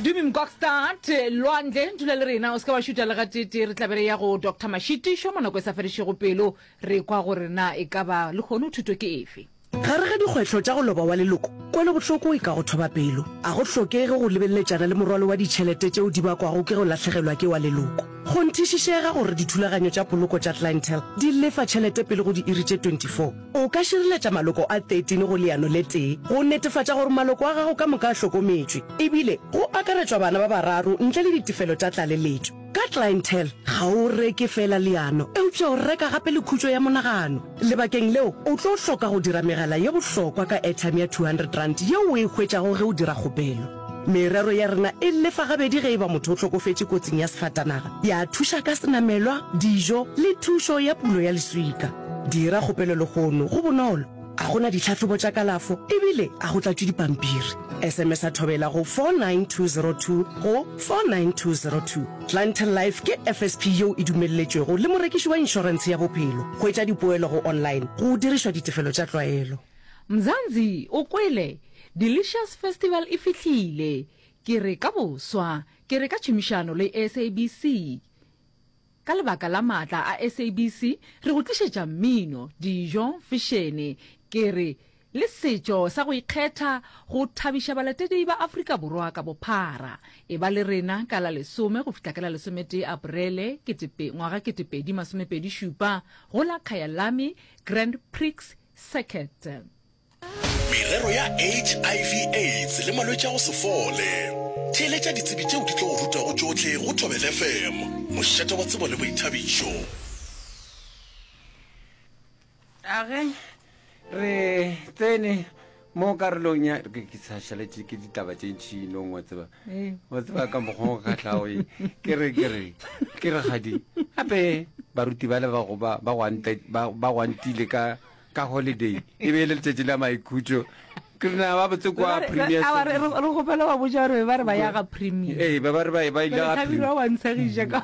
Dumi Mkokstad, Lwandle, dula le rena, o se ke wa šuta le gateetee, re tla be re ya go Doctor Mashitišo mo nako e sa fedišego pelo, re kwa gore na e ka ba lehono thuto ke efe. Gare ga dikgwetlho tša go loba wa leloko, kwelobohloko e ka go thoba pelo. A go hlokege go lebeleletšana le morwalo wa ditšhelete tšeo di bakwago ke go lahlegelwa ke wa leloko. Kgonthišišega gore dithulaganyo tša poloko tša Clientele di lefa tšhelete pele go diiri tše 24. O ka šireletša maloko a 13 go leano le tee go netefatša gore maloko a gago ka moka a hlokometšwe, ebile go akaretšwa bana ba bararo ntle le ditefelo tša tlaleletšo. Ka Clientele, ga o reke feela leano, eupša o reka gape le khutšo ya monagano. Lebakeng leo, o tlo hloka go dira megala ye bohlokwa ka airtime ya R200 yeo o e hwetšago ge o dira kgopelo. Merero ya rena e lefa gabedi ge e ba motho o hlokofetše kotsing ya sefatanaga, ya thuša ka senamelwa, dijo le thušo ya pulo ya leswika. Dira kgopelo lehono, go bonolo, ga go na ditlhahlobo tša kalafo ebile ga go tlatšwe dipampiri. SMS-a Thobela go 49202 go 49202. Clientele Life ke FSP yeo e dumelletšwego le morekiši wa inšorentshe ya bophelo. Hwetša dipoelo go online go dirišwa ditefelo tša tlwaelo. Mzansi, o kwele? Delicious Festival e fihlile! Ke re ka boswa, ke re ka tšhomišano le SABC. Ka lebaka la maatla a SABC, re go tlišetša mmino, dijo, fešene, ke re le setšo sa go ikgetha go thabiša balatedi ba Afrika Borwa ka bophara. Eba le rena ka la lesome go fihla ka la lesometee Aprele ketepe, ngwaga 2027 go la Kyalami Grand Prix Circuit. Merero ya HIV AIDS le malwetši a go se fole. Theeletša ditsebi tšeo di tlo go rutago tšohle go Thobela FM, mošate wa tsebo le boithabišo. A ge re tsene mo karolong ya ke ke sa šaletše ke ditaba tše ntši nong wa tseba Ee. wa tseba ka mokgwa o kgahlago e ke re ke re ke re gadi gape baruti ba le ba go ba ba gwante ba ba gwantile ka ka holiday e be e le letšatši la maikhutšo ke re na ba botse kwa premier Awa, re re- re kgopela ba botša gore ba re ba ya ga premier ee ba ba re ba ba ile ga Thabile wa ntshegiša ka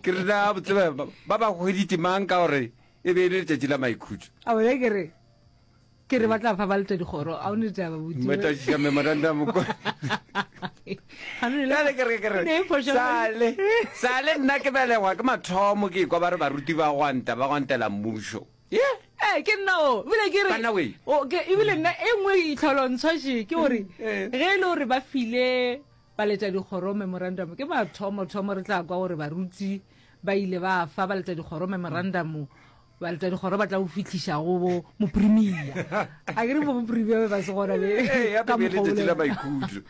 ke re na botse ba ba ba hweditše mang ka gore E be e le letšatši la maikhutšo. A bona ke re ke re ba tla fa ba leta dikgoro a o ne taba botse. Matašiša memorandum ko. Bjale ke re ke re sale sale nna ke belegwa ke mathomo ke kwa ba re baruti ba gwanta ba gwantela mmušo. Ye. Eh ke nna o ebile ke re Banna we. o ke ebile nna e nngwe itlholontshwa ke gore Eh. ge e le gore ba file Baletšadikgoro memorandamo ke mathomo-thomo re tla kwa gore baruti ba ile ba fa baletšadikgoro memorandamo baletšadikgoro ba tla o fihliša go bo moprimia a ke re bo moprimia be ba se gona be Ee, ka gape be mokgwa letšatši la ola. maikhutšo.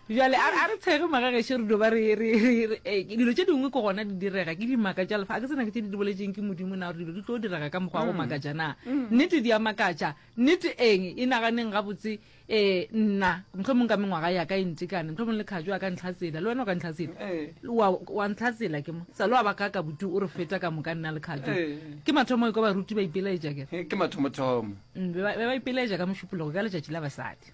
Bjale a a re tshege magagešo re dio ba re re re re- eh, dilo tše dingwe ke gona di direga ke dimaka tša lefa a ke tsena ke tše di di boletšeng ke modimo na gore dilo di tlo direga ka mokgwa wa go makatša na nnete di a makatša nnete eng e naganeng gabotse Ee, nna, mohlomong ka mengwaga ya ka e ntekane, mohlomong le Khatjo a ka ntlhatsela, le wena o ka ntlhatsela. Ee. Wa, wa ntlhatsela ke mo. Sa le wa ba ka ka butu o re feta ka moka nna le Khatjo. Ee. Ke mathomo e kwa baruti ba ipelaetša ke. Ke mathomothomo. Mm, be ba be ba ipelaetša ka Mošupologo ka letšatši la basadi.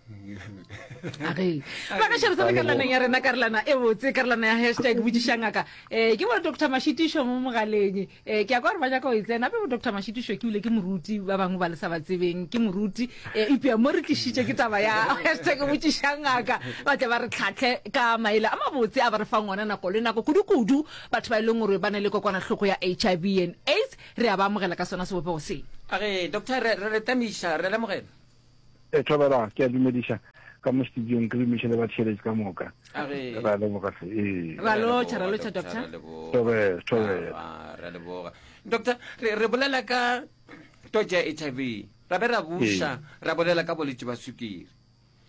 Age. Ba ka šere tsena karolwaneng ya rena karolwana e botse karolwana ya hashtag botšiša ngaka. Eh ke bona Dr. Mashitišo mo mogaleng. Ee, ke a kwa gore ba nyaka go e tsena. Gape bo Doctor Mashitišo ke bile ke moruti, ba bangwe ba le sa ba tsebeng, ke moruti. Ee, eupša mo re tlišitše ke taba ya hashtag botšiša ngaka, ba tle ba re tlhahle ka maele a mabotse a ba re fang ona nako le nako, kudu-kudu batho ba e leng gore ba na le kokwanahloko ya HIV and AIDS, re a ba amogela ka sona sebopego se. A re, Doctor, re, re le tamiša, re lemogela. E, Thobela, ke a dumediša ka mo studiong, ke dumiše le batheeletši ka moka. A re. Ra leboga hle. Ee. Ra lotšha, ra lotšha, Doctor. Thobela, thobela. Ah, ra leboga. Doctor, re, re bolela ka twatši ya HIV, ra be ra buša, ra bolela ka bolwetši ba sukiri.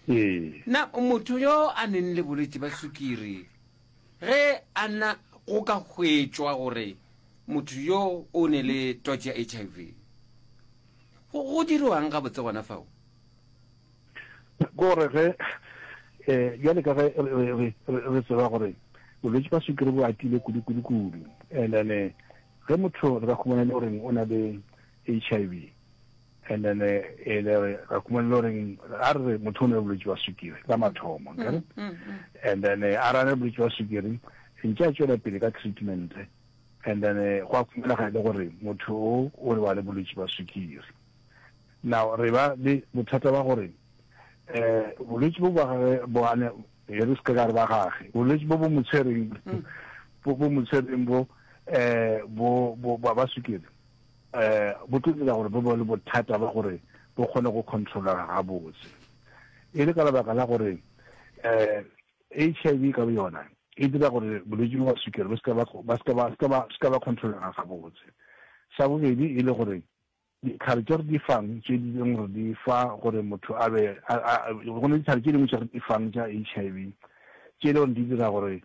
Ee. Na motho yo a neng le bolwetši ba sukiri, ge a na go ka hwetšwa gore motho yo o ne le twatši ya HIV, Go, go dirwang gabotse gona fao? Ke gore ge um bjale ka ge re, re, re tseba gore bolwetši ba sukiri bo atile kudu kudu kudu and then eh, ge motho re ka khumana e le goreng o na le H I V and then eh, e le re ra khumana e le goreng a re re motho o na le bolwetši ba sukiri la mathomo nkere and then eh, a ra ne bolwetši ba sukiri ntše a tšwela pele ka treatment And then go a khumanega e le gore motho o o ba le bolwetši ba sukiri. Now re ba le bothata ba gore um bolwetši bo ba gage bo ane. E re se ka re ba gage. Bolwetši bo bo mo tshwereng, bo bo mo tshwereng bo, eh, bo, bo, ba, ba sukiri, eh, bo tlo dira gore bo be le bothata ba gore bo kgone go controlega gabotse. E le ka lebaka la gore, eh, HIV ka boyona e dira gore bolwetši bo ba sukiri bo se ka ba, ba se ka ba, se ka ba, se ka ba controlega gabotse. Sa bobedi e le gore Ditlhare tše re di fang, tše di leng gore di fa gore motho a be, a, a, go na le ditlhare tše dingwe tše re di fang tša HIV, tše e le gore di dira gore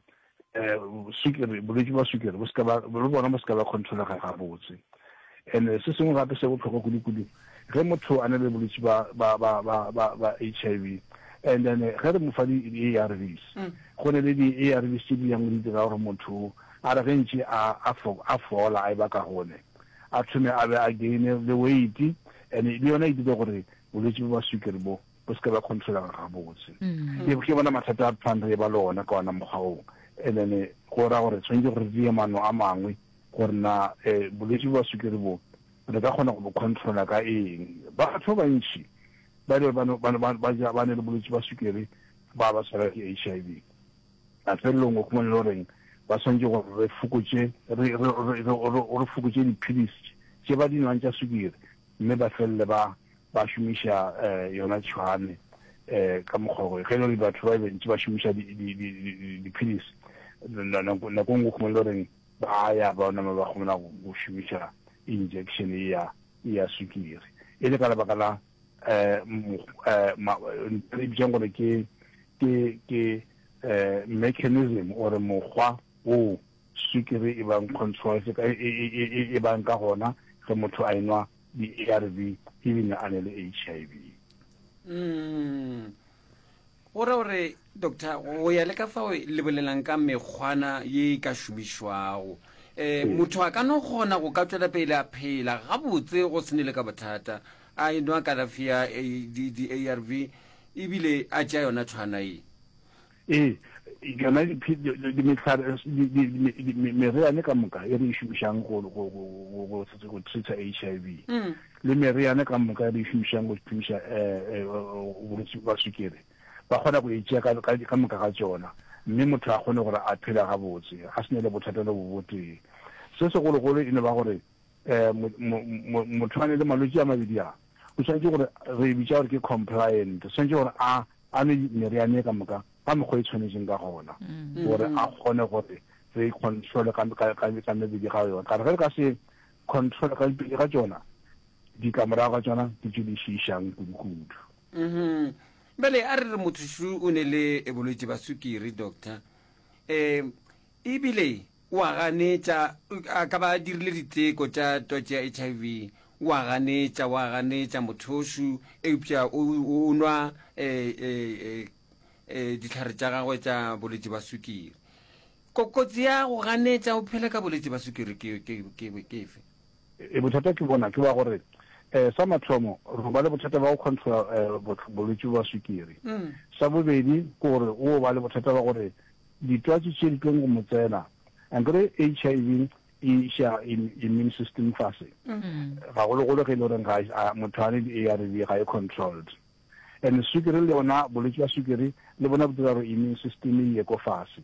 um sukiri, bolwetši bja sukiri bo se ka ba, le bona bo se ka ba controlega gabotse. And se sengwe gape se bohlokwa kudu-kudu, ge motho a na le bolwetši ba, ba, ba, ba, ba, ba HIV, and then ge re mo fa di-ARVs, go na le di-ARVs tše di yang di dira gore motho a re ge ntše a, a, a fola, a e ba kagone, a thome a be a gaine le weight and le yona e dire gore bolwetši bo ba sukiri bo bo se ke ba controlega gabotse. Ke ke bona mathata a phang re ba le ona ka ona mokgwa oo. And then go ra gore tshwanetse gore re dire maano a mangwe gore na eh, bolwetši bo ba sukiri bo re ka kgona go bo controla ka eng. Batho ba bantši ba ile ba ba ba ba ba ne le bolwetši ba sukiri ba ba tshwara ke HIV. Mafelelong o khumane le goreng ba swanetše gore re fokotše re re re re fokotše diphilisi tše ba di nwang tša sukiri mme ba felele ba ba šomiša eh, yona tšhwane eh, ka mokgwa gore ge e le gore batho ba bantši ba šomiša diphilisi nako nngwe khumane le goreng ba ya ba nama ba kgona go šomiša injection ya ya sukiri e le ka lebaka la um re bitsang gore ke ke ke eh mechanism or mokgwa wo sukiri e bang control e, e, e, e bang ka gona ge motho a enwa di-ARV ebile a ne le HIV. Mm. Go ra gore doctor go ya le ka fao le bolelang ka mekgwana ye e ka šomišwago um motho a ka no kgona go ka tšwela pele a phela gabotse go se ne le ka bothata a enwa kalafi ya di-arv ebile a tšea yona tshwana ye. Ee, yona meriane ka moka e re e šomišang go treata HIV le meriane ka moka e re e šomišang go thuša bolwetši bja sukiri, ba kgona go e tšea ka moka ga tšona mme motho a kgone gore a phele gabotse a se ne le bothata le bo botee. Se segologolo e no ba gore um motho a ne le malwetši a mabedi a, o swanetše gore re e bitša gore ke compliant, o swanetše gore a a nwe meriane e ka moka ka mokgwa e tshwanetseng ka gona gore a kgone gore re controle ka ka ka ka mebedi ga yona. Ka re ge re ka se controle ka pedi ga tšona, ditlamorago ga tšona ke tše di šiišang kudu-kudu. Mhm. Bjale a re re motho šo o ne le bolwetši ba sukiri, doctor. Um ebile O a ganetša, a ka ba a dirile diteko tša twatši ya HIV, o a ganetša, o a ganetša mothošu, eupša o, o nwa e, e, e, e, dihlare tša gagwe tša bolwetši ba sukiri. Ko, kotsi ya go ganetša o phela ka bolwetši ba sukiri ke, ke, ke, ke efe? E, bothata ke bona ke ba gore um sa mathomo re ba le bothata ba go controla um bolwetši ba sukiri. Sa bobedi ke gore o ba le bothata ba gore Ditwatši tše di tlong go mo tsena, ankere HIV e iša immune system fase, gagologolo ge e le goreng ga motho a ne di-ARV ga e controlled. And sukiri le yona, bolwetši bja sukiri le bona bo dira gore immune system e ye ko fase.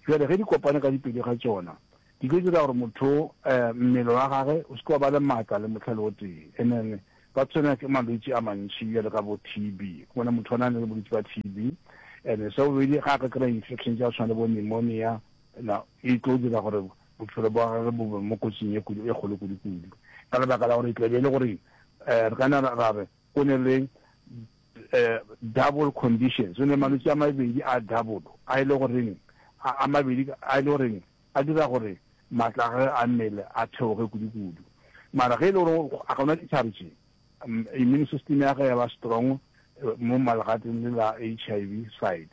Jwale ge di kopane ka dipedi ga tšona, di tlo dira gore motho mmele wa gage o se ke wa ba le maatla le mohla le o tee. And then Ba tshwenywa ke malwetši a mantši bjalo ka bo TB. O bona motho o na le bolwetši ba TB and sa bobedi ga a ka kry-a infection tša go tshwana le bo pneumonia na e tlo dira gore bophelo bwa gagwe bo be mo kotsing e kudu e kgolo kudu-kudu ka lebaka la gore e tla be e le gore um re ka na ra re o ne le um double conditions o ne malwetši a mabedi a double a e le goreng a mabedi a e le goreng a dira gore matla a gagwe a mmele a theoge kudu-kudu. Mara ge e le gore a ka nwa dihlare tše, immune system ya gagwe ya ba strong mo malegateng le la HIV side,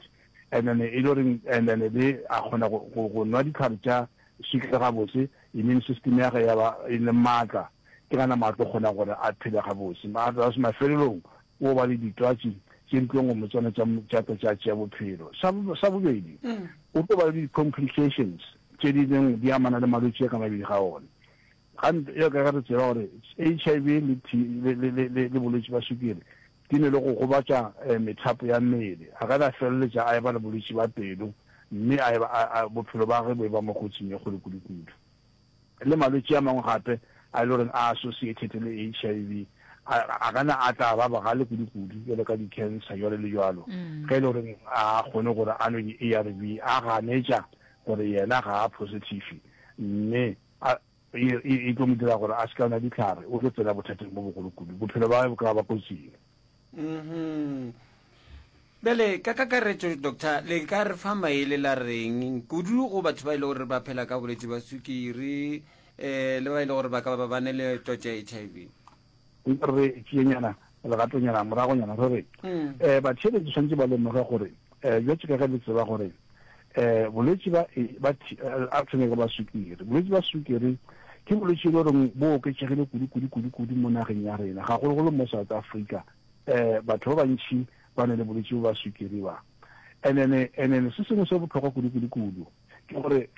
and then e le gore and then le a kgona go, go, go nwa dihlare tša sukiri gabotse, immune system ya gagwe ya ba e le matla, ke gana mo a tlo kgonang gore a phele gabotse. Mara mafelelong o ba le ditwatši tše di tlong go mo tsena tša, tša tla tša tšea bophelo. Sa, sa bobedi, o tlo ba le di-complications tše di leng di amana le malwetši a ka mabedi ga ona. Ga, bjalo ka ge re tseba gore HIV le, le, le, le, le, le bolwetši bja sukiri. di ne le go gobatša methapo ya mmele. A ka na feleletša a eba le bolwetši bja pelo mme a eba, a, a, bophelo bja gagwe bo eba mo kotsing ye kgolo kudu-kudu. Le malwetši a mangwe gape a e le goreng a associated le HIV a, a ka na a tla ba bogale kudu-kudu, bjalo ka di-cancer jwalo le jwalo. Ge e le goreng a kgone gore a nwe di-ARV, a ganetša gore yena ga a positive mme a, e, e, e tlo mo dira gore a se ka nwa dihlare, o tlo tsena bothateng bo bogolo kudu. Bophelo bja gagwe bo ka ba kotsing. Mhm. Bjale, ka kakaretšo, Doctor, le ka re fa maele la reng, kudu go batho ba e le gore ba phela ka bolwetši bja sukiri, um le ba e le gore ba ka ba ba ne le twatši ya HIV? Nka re tšenyana legatonyana moragonyana re re um batheeletši tshwanetse ba lemoge gore um bjatše ka ge le tseba gore um bolwetši ba ba a thome ka ba sukiri. Bolwetši ba sukiri ke bolwetši e le goreng bo oketšegile kudu kudu kudu kudu mo nageng ya rena, gagologolo mo South Africa. Um batho ba bantši ba ne le bolwetši bo ba sukiri ba. And then, and then se sengwe se bohlokwa kudu kudu kudu ke gore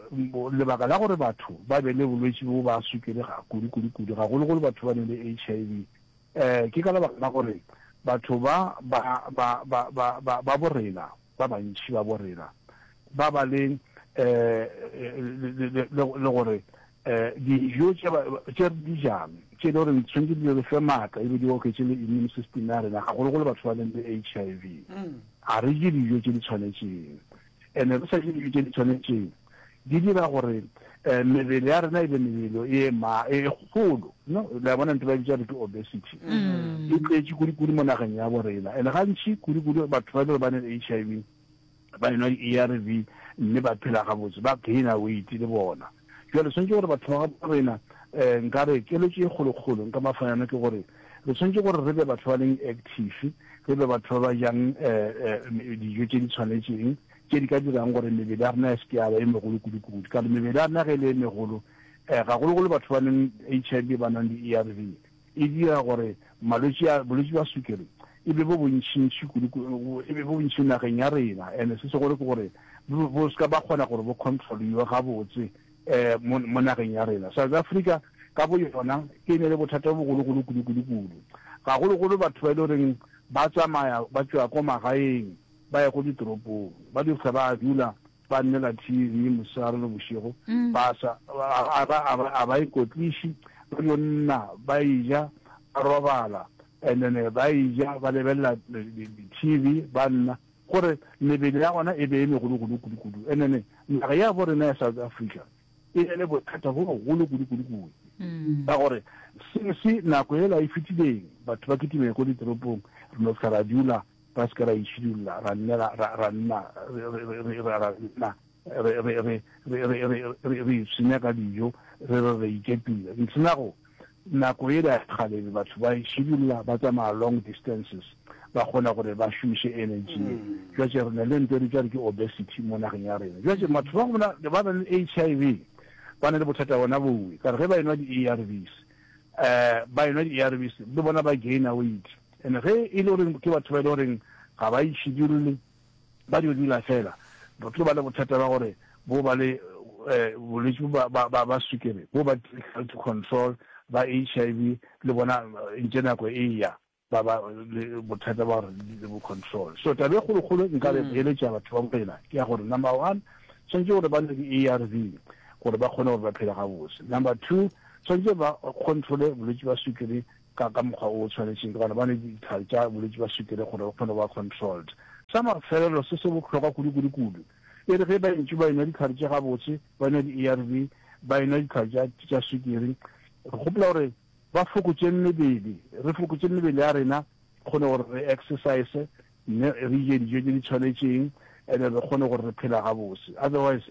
um lebaka la gore batho ba be le bolwetši bo ba sukiri ga kudu kudu kudu, gagologolo batho ba ne le HIV, um ke ka lebaka la gore batho ba ba ba ba ba ba ba borena ba bantši ba borena ba ba le um le gore um dijo tše re di jang tše e le gore tshwanetse di re fe maatla ebe di oketše le immune system ya rena, gagologolo batho ba leng le HIV, ga re je dijo tše di tshwanetšeng. And-e re sa je dijo tše di tshwanetšeng di dira gore um mebele ya rena e be mebele e ma e kgolo. No, le a bona ntho ba e bitša gore ke obesity. E tletše kudu-kudu mo nageng ya bo rena. And gantši kudu-kudu batho ba e le gore ba ne le HIV ba enwa di-A_R_V mme ba phela gabotse, ba gainer weight le bona. Jwale tshwanetse gore batho ba gabo rena um nka re keletšo e kgolokgolo nka ba fa yona ke gore re tshwanetse gore re be batho ba leng active, re be batho ba ba jang um dijo tše di tshwanetšeng tše di ka dirang gore mebele ya rena e se ke ya ba e megolo kudu-kudu. Ka gore mebele ya rena ge e le e megolo, um gagologolo batho ba neng H_I_V ba nwang di-A_R_V, e dira gore malwetši a bolwetši bja sukiri e be bo bontšintši kudu, e be bo bontši nageng ya rena. And se segolo ke gore bo, bo se ka ba kgona gore bo controliwe gabotse um mo, mo nageng ya rena. South Africa ka bo yona ke e ne le bothata bo bogologolo kudu kudu kudu. Gagologolo batho ba e le goreng ba tsamaya ba tšwa ko magaeng ba ya ko ditoropong, ba di fihla ba dula ba nnela TV mosegare le bošego, ba sa, a ba, a ba, a ba ikotliši, ba dio nna ba eja, ba robala, and then ba eja, ba lebelela di-TV, ba nna, gore mebele ya gona e be e megologolo kudu-kudu. And then naga ya bo rena ya South Africa e ne le bothata bo bogolo kudu-kudu-kudu, ka gore since nako yela e fetileng batho ba kitimele ko ditoropong, re no fihla ra dula Ra se ke ra itšhidulla, ra nne ra, ra, ra nna re, re, re, re, ra, ra nna re, re, re, re, re, re, re, re ipshina ka dijo, re re re ikepile. Ntshenago, nako yela ya kgale be batho ba itšhidulla, ba tsamaya long distances, ba kgona gore ba šomiše energy ye. Jwatše re na le nto e re bitša re ke obesity mo nageng ya rena. Jwatše batho ba go bona ba na le HIV, ba na le bothata bona bowe, ka re ge ba enwa di-A_R_Vs, um ba enwa di-A_R_Vs le bona ba gainer weight. And ge e le gore ke batho ba e le goreng ga ba itšhidulle, ba dio dula fela, re tlo ba le bothata ba gore bo ba le bolwetši bo ba, ba, ba sukiri, bo ba difficult to control, ba HIV le bona ntše nako e ya ba ba le bothata ba gore bo control. So taba e kgolokgolo nka re eletša batho ba borena ke ya gore number one, tshwanetse gore ba nwe di-A_R_V gore ba kgone gore ba phele gabotse. Number two, tshwanetse ba controle bolwetši ba sukiri ka ka mokgwa o tshwanetšeng, ka gona ba nwe ditlhare tša bolwetši bja sukiri gore ba kgone go ba controlled. Sa mafelelo se se bohlokwa kudu-kudu-kudu, e re ge ba ntše ba enwa ditlhare tše gabotse, ba enwa di-A_R_V, ba enwa ditlhare tša tša sukiri, re gopola gore ba fokotše mebele, re fokotše mebele ya rena, re kgone gore re exercise, mme re je dijo tše di tshwanetšeng, and re kgone gore re phela gabotse. Otherwise,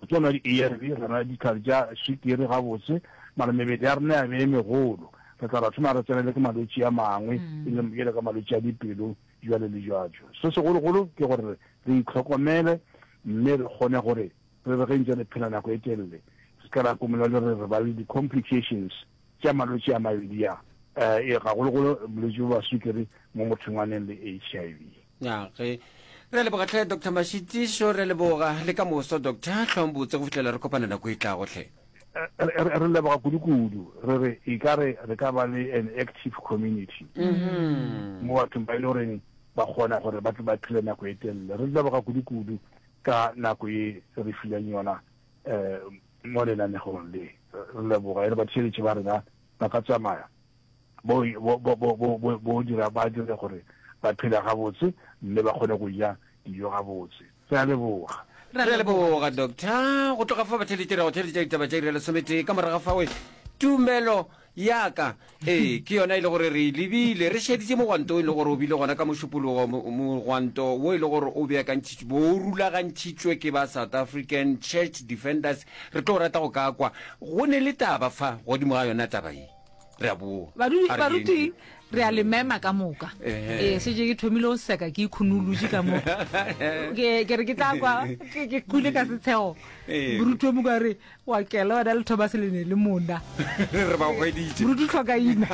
Re tlo nwa di-ARV, ra nwa dihlare tša swikiri gabotse, mara mebele ya rena ya be e megolo. Re tla ra thoma re tsenele ke malwetši a mangwe, e leng bjalo ka malwetši a dipelo, jwalo le jwalo. Se segologolo ke gore re itlhokomele mme re kgone gore re re ge ntse re phela nako e telele, re se ka ra komola le re re ba le di-complications tša malwetši a mabedi a, e gagologolo bolwetši bja swikiri mo mothong a neng le HIV. Ya ge. Re a leboga hle Doctor Mashitišo, re a leboga le ka moso Doctor, hlwang botse go fihlela re kopana nako e tlago hle. Re leboga kudu-kudu. Re re e ka re re ka ba le an active community mo bathong ba e le goreng ba kgona gore ba tle ba phele nako e telele. Re leboga kudu-kudu ka nako ye re fileng yona um mo lenanegong le. Re leboga e re batheeletši ba rena ba ka tsamaya bo, bo, bo, bo, bo, bo, bo dira, ba dire gore ba phele gabotse mme ba kgone go ja dijo gabotse. Re a leboga. Re a leboga, Doctor. Go tloga fa batheeletši ra go theeletša ditaba tša iri ya lesometee. Ka morago ga fawe, tumelo ya ka, ee, ke yona e le gore re e lebile. Re šeditše mogwanto o e le gore o bile gona ka Mošupologo, mogwanto wo e le gore o beakantšhitšwe, bo o rulagantšhitšwe ke ba South African Church Defenders. Re tlo rata go ka kwa go ne le taba fa godimo ga yona taba ye. Re a boa. Badudi, baruti, re a le mema ka moka. Ee, šetše ke thomile go seka ke ikhunolotše ka mo. Ke ke re ke tla kwa ke ke kwile ka setshego. Moruti o mongwe a re wa kela wena le Thomas le ne le mona. Re ba hweditše. Moruti tlhokaina.